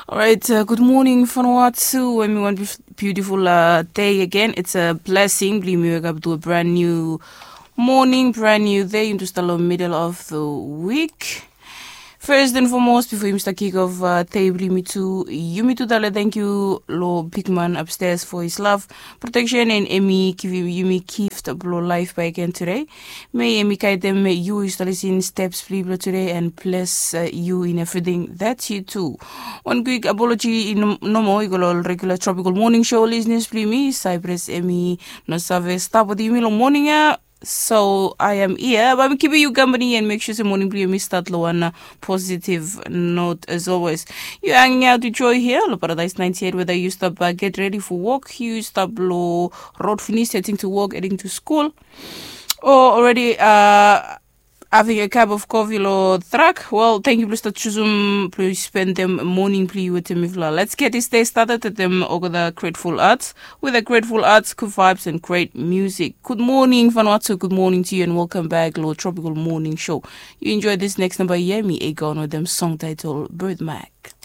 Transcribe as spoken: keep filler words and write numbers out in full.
Orait, gud moning Vanuatu. Em i wan biutiful dei agen. It's a blessing blong yumi wekap tu a brand new moning, brand new dei. Yumi tu stap long middle of the week. First and foremost, bifo yumi stap kick off dei blong yumi tu, yumi tu talem thank you long bigman upstairs for his love, protection, and em i givim yumi gift blong life bakegen today. May em i guidem yu yu stap lisin steps blong yu blong today and bless yu in everything that you do. Wan kwik apology nomo i go long ol regular Tropical Morning Show listeners blong yumi. Cyprus em i no save stap wetem yumi long moning ya. So I am here, bae mi kipim yu kampani and mek sua se moning blong yumi stat long wan positive note as always. Yu hanging out with Joy here long Paradise ninety-eight. Whether yu stap get ready for work, yu stap long road finis heading to work, heading to school, or already uh, having a cup of coffee lo truck, well, thank you blong stap chusum blong spendem moning blong yu wetem mifala. Let's get this day started wetem olgeta grateful arts. With a grateful arts, good vibes and great music. Good morning Vanuatu, good morning to you and welcome back lo Tropical Morning Show. Yu enjoy this next number here, mi Aegon wetem song title Birthmark.